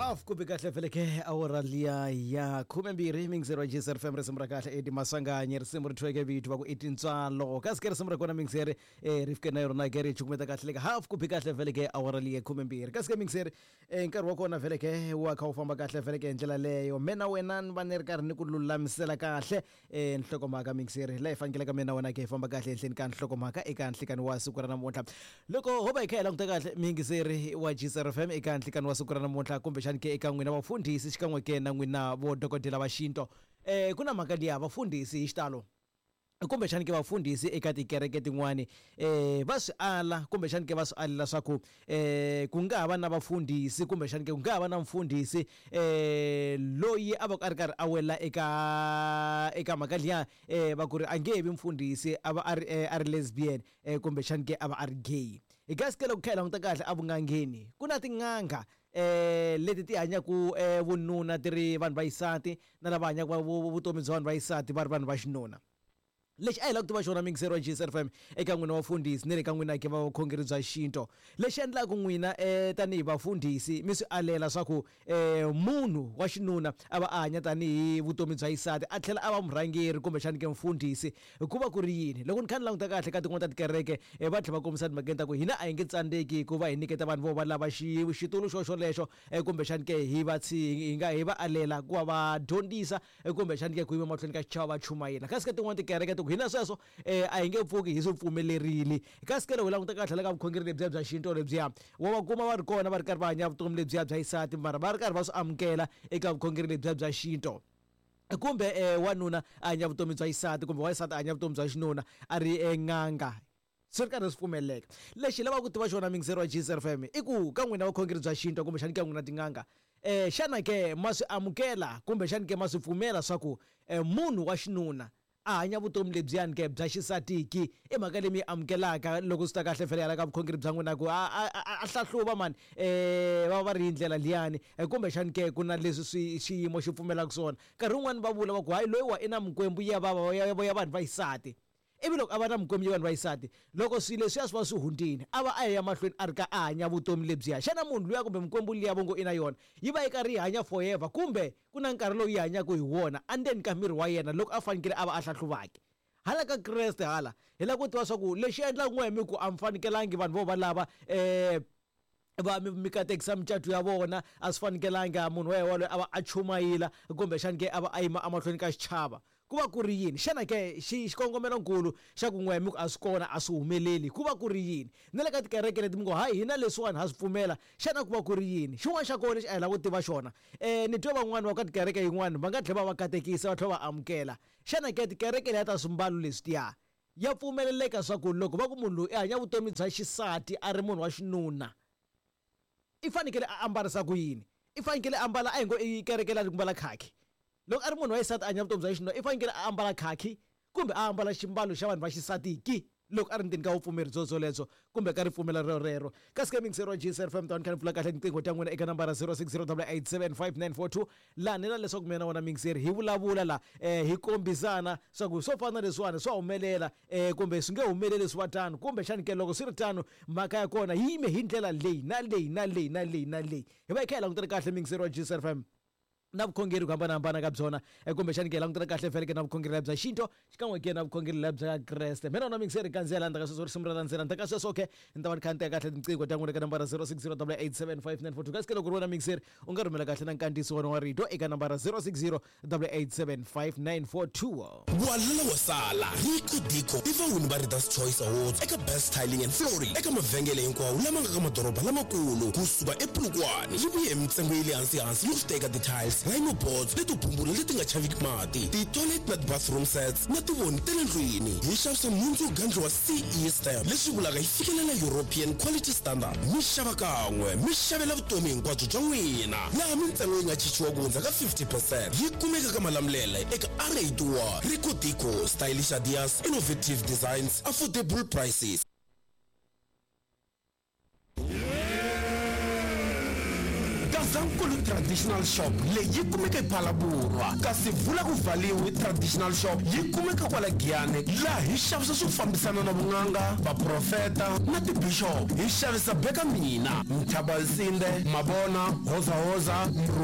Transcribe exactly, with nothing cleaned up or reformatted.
Half ku bi kahle feleke awara liya ya khumembirhi mingizeri wa G S R F M risimu ra kahle Eddie Maswanganyi risimu ri thweke vito va ku i tintswalo kasi ke risimu ra kona mingizeri eh ri fike na yona ke ri chukumeta kahle leka half ku bi kahle feleke awara liya khumembirhi kasi ke mingizeri eh nkarhi wa kona feleke wa kha wu famba kahle feleke hi ndlela leyo mina wena ni va ni ri karhi ni ku lulamisela kahle eh nhlokomhaka mingizeri laha hi fanekelaka mina wena ke hi famba kahle ehenhleni ka nhlokomhaka eka nhlikani wa siku ra namuntlha loko ho va hi kha hi languta kahle mingizeri wa G S R F M eka nhlikani wa siku ra namuntlha kumbexani ke eka n'wina vafundhisi xikan'we ke na n'wina vo dokodela va xinto eh ku na mhaka liya vafundhisi hi xitalo kumbexani ke vafundhisi eka tikereke tin'wani eh va swi ala kumbexani ke va swi alela swa ku eh ku nga ha va na vafundhisi kumbexani ke ku nga ha va na mfundhisi eh loyi a va a ri karhi a wela eka eka mhaka liya eh va ku ri a nge vi mfundhisi a va a ri a ri lesbian eh kumbexani ke a va a ri gay hi kasi ke loko kha hi languta kahle a vun'angeni ku na tin'anga eh leti ti hanyaku eh vununa ti ri vanhu va xisati na lava hanyaka vutomi bya vanhu va xisati va ri vanhu va xinuna lexi a hi lava ku tiva xona mingizeri wa G S R F M eka n'wina vafundhisi ni le ka n'wina ke va vukhongeri bya xinto lexi endlaka n'wina eh tanihi vafundhisi mi swi alela swa ku eh munhu wa xinuna a va a hanya tanihi vutomi bya xisati a tlhela a va murhangeri kumbexani ke mfundhisi ku va ku ri yini loko ni kha ni languta kahle ka tin'wana ta tikereke va tlhela va kombisa timhakeni ta ku hina a hi nge tsandzeki ku va hi nyiketa vanhu vo va lava xi xitulu xo xolexo kumbexani ke hi va hi nga hi va alela ku va va dyondzisa kumbexani ke ku yima mahlweni ka xichava va chumayela kasi ka tin'wana tikereke ti ku hina sweswo eh a hi nge pfuki hi swi pfumelerile kasi ke loko hi languta kahle la ka vukhongeri lebyiya bya xinto lebyiya wa va kuma va ri kona va ri karhi va hanya vutomi lebyiya bya xisati mara va ri karhi va swi amukela eka vukhongeri lebyiya bya xinto kumbe eh wanuna a hanya vutomi bya xisati kumbe wansati a hanya vutomi bya xinuna a ri n'anga swi ri karhi swi pfumeleleka lexi lavaka ku tiva xona mingizeri wa G S R F M i ku ka n'wina vukhongeri bya xinto kumbexani ka n'wina tin'anga eh xana ke ma swi amukela kumbexani ke ma swi pfumela swa ku munhu wa xinuna a hanya vutomi lebyiyani ke bya xisatiki i mhaka leyi mi yi amukelaka loko swi ta kahle fela hala ka vukhongeri bya n'wina ku a a hlahluva mani eh va va ri hi ndlela liyani kumbexani ke ku na leswi swi xiyimo xi pfumelaka swona nkarhi wun'wani va vula va ku hayi loyi wa i na mikwembu ya va ya ya vanhu va xisati ivi loko a va na mikwembu ya vanhu va xisati loko swilo leswiya swi va swi hundzile a va a ya mahlweni a ri ka a hanya vutomi lebyiya xana munhu luya kumbe mikwembu liya vo ngo i na yona yi va yi karhi yi hanya forever kumbe ku na nkarhi lowu yi hanyaka hi wona endzeni ka miri wa yena loko a fanekele a va a hlahluvaki hala ka Kreste hala hi lava ku tiva swa ku lexi endlaka n'we mi ku a mi fanekelangi vanhu vo va lava eh va mi katekisa micato ya vona a swi fanekelanga munhu wa yena loyi a va a chumayela kumbexani ke a va a yima emahlweni ka xichava ku va ku ri yini xana ke xi xikongomelonkulu xa ku n'we mi ku a swi kona a swi humeleli ku va ku ri yini na le ka tikereke leti mi ngo hayi hina leswiwani ha swi pfumela xana ku va ku ri yini xin'wana xa kona lexi a hi lava ku tiva xona um ni twe van'wani va ka tikereke yin'wani va nga tlhela va va katekisa va tlhela va amukela xana ke tikereke leya ta swimbalo leswiya ya pfumeleleka swa ku loko va ku munhu loyi i hanya vutomi bya xisati a ri munhu wa xinuna i fanekele a ambarisa ku yini i fanekele a ambala a hi ngo i kereke la ku mbala khaki loko a ri munhu wa xisati a hanya vutomi bya xinuna i fanekele a ambala khaki kumbe a ambala ximbalo xa vanhu va xisatiki loko a ri ndzeni ka vupfumeri byo byolebyo kumbe ka ripfumelo rero rero kasi ke mingizeri wa G S R F M tani kha ni pfula kahle tinqingho ta n'wina eka nambara zero six zero double eight seven five nine four two laha ni la leswaku mina na wona mingizeri hi vulavula la eh hi kombisana swa ku swo fana na leswiwani swa humelela eh kumbe swi nge humeleli swi va tano kumbexani ke loko swi ri tano mhaka ya kona yi yime hi ndlela leyi na leyi na leyi na leyi na leyi hi va hi kha hi langutela kahle mingizeri wa G S R F M na vukhongeri ku hambanahambana ka byona kumbexani ke langutela kahle fele ke na vukhongeri bya xinto xikan'we ke na vukhongeri bya Kreste mina na mingizeri kandziyela ndzhaku ka sweswo risimu ra landzela ndzhaku ka sweswo ke ni ta va ni kha ni teka kahle tinqingho ta n'wina ka nambara zero six zero double eight seven five nine four two kasi ke loko ri wena mingizeri u nga rhumela kahle na nkandziyiso wona wa rito eka nambara zero six zero double eight seven five nine four two Walala wa sala Rico Dico i vawini va Readers Choice Awards eka Best Tiling and Flooring eka mavhengele hinkwawo lama nga ka madoroba lamakulu kusuka ePolokwane yi vuye hi mintsengo ya le hansi hansi yo teka ti-tiles rhino boards leti bumbula leti nga chaviki mati ti-toilet na ti-bathroom sets na tivoni ta le ndlwini hi xavisa nhundzu yo gandliwa C E stamp leswi vulaka yi fikelela European quality standard mi xava kan'we mi xavela vutomi hinkwabyo bya n'wina laha mintsengo yi nga chichiwa ku hundza ka fifty percent yi kumeka ka Malamulele eka R eighty-one Rico Dico stylish ideas innovative designs affordable prices. Gazankulu Traditional Shop leyi yi kumeka ePhalaborwa, kasi Vula ku Valiwi Traditional Shop yi kumeka kwala Giyani, laha hi xavisa swo fambisana na vun'anga, vaprofeta na tibishop. Hi xavisa beka mina, Mthabansinde, Mabona, Hozahoza.